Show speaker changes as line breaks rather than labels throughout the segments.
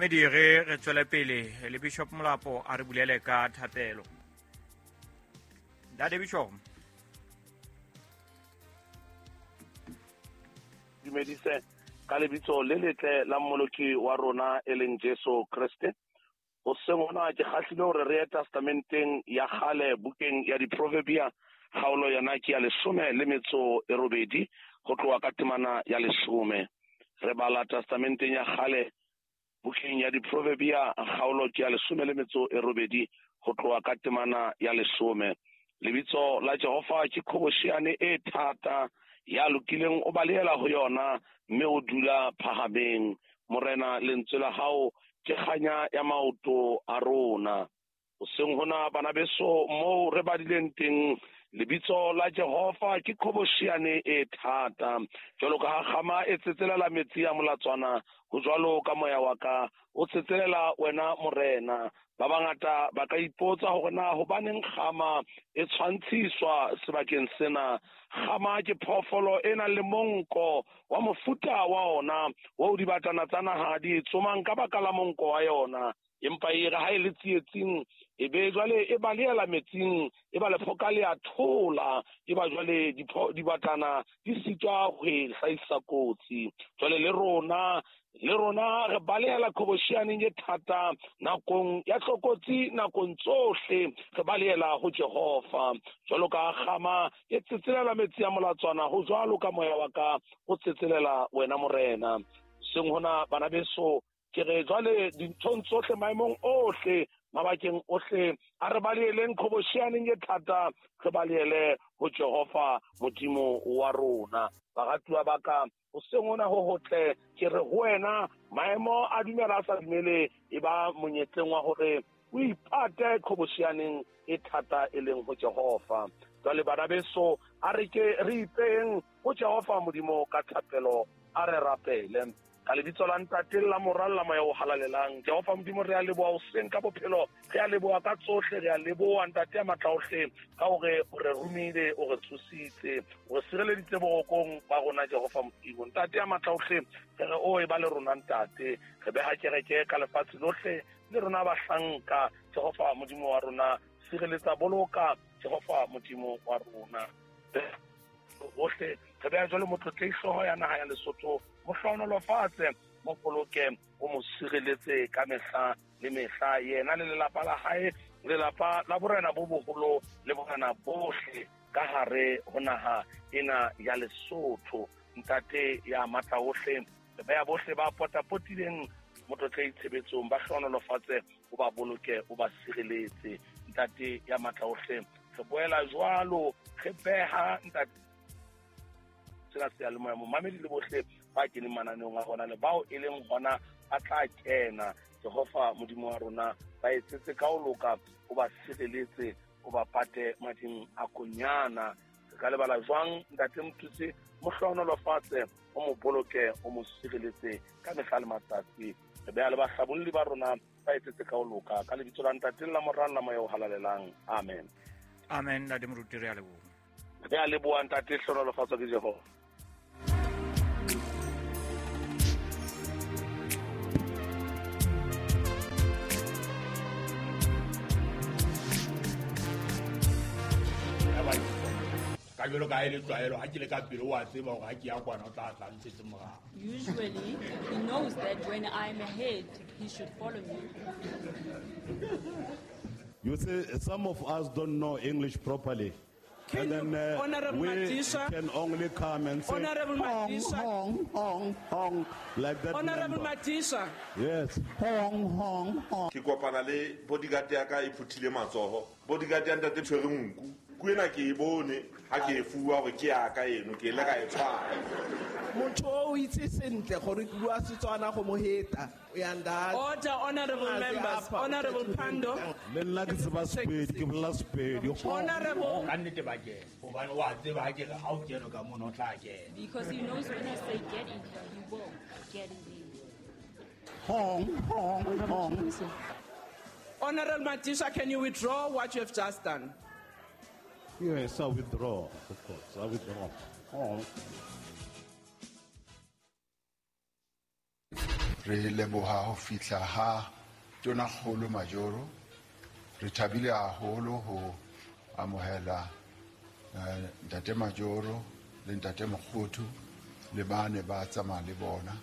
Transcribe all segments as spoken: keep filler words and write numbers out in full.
Mamedi re re tswele pele le Bishop Molapo a re bulele ka thapelo. Ntate Bishop.
Dumedise ka lebitso le letle la Mmoloki wa rona e leng Jesu Kriste. Hoseng hona ke kgahlile hore re ye testamenteng ya kgale bukeng ya Diproverbia, kgaolo yona ke ya leshome le metso e robedi ho tloha ka temana ya leshome. Re bala testamenteng ya kgale bukeng ya Diproverbia, kgaolo ke ya leshome le metso e robedi ho tloha ka temana ya leshome. Lebitso la Jehova ke qhobosheane e thata, ya lokileng o balehela ho yona mme o dula phahameng. Morena, lentswe la hao ke kganya ya maoto a rona. Hoseng hona bana beso, moo re badileng teng, lebitso la Jehova ke qhobosheane e thata. Jwalo ka ha kgama e tsetselela metsi a molatswana, ho jwalo ka moya wa ka o tsetselela wena Morena. Ba bangata ba ka ipotsa hore na hobaneng kgama e tshwantshiswa sebakeng sena. Kgama ke phoofolo e nang le monko wa mofuta wa ona oo dibatana tsa naha di tsomang ka baka la monko wa yona. Empa e re ha e le tsietsing, e be jwale e balehela metsing, e ba lephoka le a thola, e ba jwale dibatana di sitwa ho e hlahisa kotsi. Jwale le rona le rona re balehela qhobosheaneng e thata nakong ya tlokotsi, nakong tsohle re balehela ho Jehova. Jwalo ka kgama e tsetselela metsi a molatswana, ho jwalo ka moya wa ka o tsetselela wena Morena. Seng hona bana beso, ke re jwale dinthong tsohle, maemong ohle, mabakeng ohle, a re baleheleng qhobosheaneng e thata, re balehele ho Jehova Modimo wa rona. Baratuwa ba ka, hoseng hona ho hotle, ke re ho wena, maemo a dumela a sa dumele, e ba monyetleng wa hore o ipate qhobosheaneng e thata e leng ho Jehova. Jwale bana beso, a re ke re ipeng ho Jehova Modimo ka thapelo, a re rapele. Ka lebitso la Ntate la Mora la Moya o Halalelang. Jehova Modimo, re a leboha hoseng ka bophelo, re a leboha ka tsohle, re a leboha Ntate ya matla ohle ka hore o re romile, o re tsositse, o re sireleditse borokong ba rona Jehova Modimo. Ntate ya matla ohle, re re o e ba le rona Ntate, re beha kereke ka lefatshe lohle le rona bahlanka. Jehova Modimo wa rona, sireletsa, boloka Jehova Modimo wa rona. Bohle re beha jwale motlotlehi hlooho ya naha ya Lesotho, mo hlohonolofatse, mo boloke, o mo sireletse ka mehla le mehla, yena le lelapa la hae, lelapa la borena bo boholo le borena bohle ka hare ho naha ena ya Lesotho. Ntate ya matla ohle, re beha bohle ba potapotileng motlotlehi tshebetsong, ba hlohonolofatse, o ba boloke, o ba sireletse. Ntate ya matla ohle, re boela jwalo re beha ntate sena seyalemoya, momamedi le bohle ba keneng mananeong a rona le bao e leng hona ba tla kena. Jehova Modimo wa rona, ba etsetse ka ho loka, o ba sireletse, o ba pate mading a konyana. Re ka lebala jwang Ntate Mothusi? Mo hlohonolofatse, o mo boloke, o mo sireletse ka mehla le matsatsi. Re beha le bahlabolli ba rona, ba etsetse ka ho loka, ka lebitso la Ntate la Mora la Moya o Halalelang. Amen.
Amen. Ntate Moruti, re a leboha.
Re a leboha Ntate, hlohonolofatswa ke Jehova.
Ka jwalo ka ha e le tlwaelo, ha ke le ka pele o a tseba hore ha ke ya kwana o tla tla ntshetse morao.
Usually, he knows that when I'm ahead, he should follow me.
You see, some of us don't know English properly.
Can
And then uh,
Honorable
we
Madisha,
can only come and say,
Honorable
hong,
Madisha.
hong, hong, hong, like that.
Honorable
member.
Madisha.
Yes. Hong, hong, hong.
Ke kopana le bodyguard ya ka e phuthile matsoho. Bodyguard ya ntate tshwere nku. Nku ena ke e bone ha ke e fuwa hore ke ya ka eno, ke ile ka e tshwara.
Motho o itse sentle gore ke bua Setswana go mo heta. Uyanda.
Order, honorable members. Honorable Pando.
Le nna ke tseba Sepedi, ke bolela Sepedi.
Honorable.
Ka nnete ba kena, hobane o a tseba ha ke re ha o kene ka mono o tla kena.
Because he knows when I say get in here, you will get in there.
Hong, hong, hong.
Honorable Madisha, can you withdraw what you have just done?
Yes, I withdraw, of course. I withdraw. Hong.
Re leboha ho fihla ha Tonakgolo Majoro. Re thabile haholo ho amohela Ntate Majoro le Ntate Mokgothu le bane ba tsamaya le bona.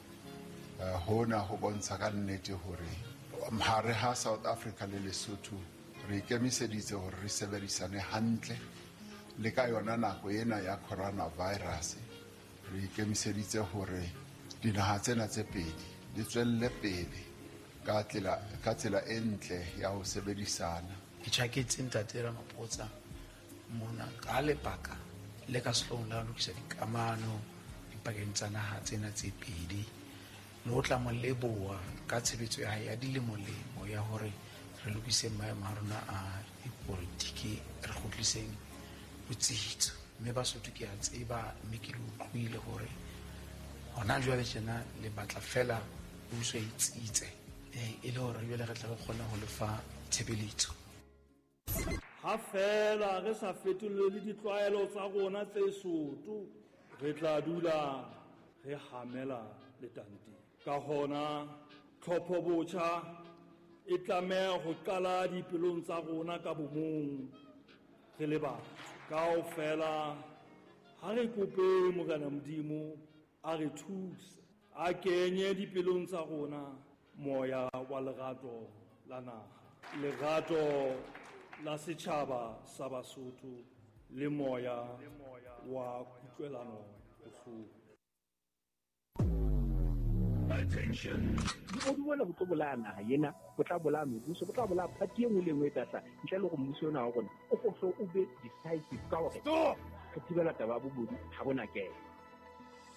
Hona ho bontsha ka nnete hore hare ha South Africa le Lesotho re ikemiseditse hore re sebedisane hantle le ka yona nako ena ya coronavirus. Re ikemiseditse hore dinaha tsena tse pedi di tswelle pele ka tsela ka tsela e ntle ya ho sebedisana.
Ke tjhaketse Ntate Ramaphosa mona ka lebaka le ka sehloohong la ho lokisa dikamano dipakeng tsa naha tsena tse pedi, le ho tla mo leboha ka tshebetso ya hae ya dilemolemo ya hore re lokise maemo a rona a dipolitiki, re kgutliseng botsitso. Mme Basotho ke a tseba, mme ke le utlwile hore hona jwale tjena le batla fela puso e tsitse, e le hore jwale re tla re kgone ho lefa tshebeletso.
Ha fela re sa fetolele ditlwaelo tsa rona tse soto, re tla dula re hamela letanteng. Ka hona tlhopho botjha e tlameha ho qala dipelong tsa rona ka bomong re le batho. Kaofela ha re kope Morena Modimo a re thuse, a kenye dipelong tsa rona moya wa lerato la naha, lerato la setjhaba sa Basotho le moya wa kutlwelano bohloko.
Attention. Bobodu bona bo tlo bolaya naha ena, bo tla bolaya mebuso, bo tla bolaya party e nngwe le e nngwe e tla hlaha. Ntle le hore mmuso ona wa rona o hlo o be decisive ka hore re thibela taba ya bobodu ha bona kelo.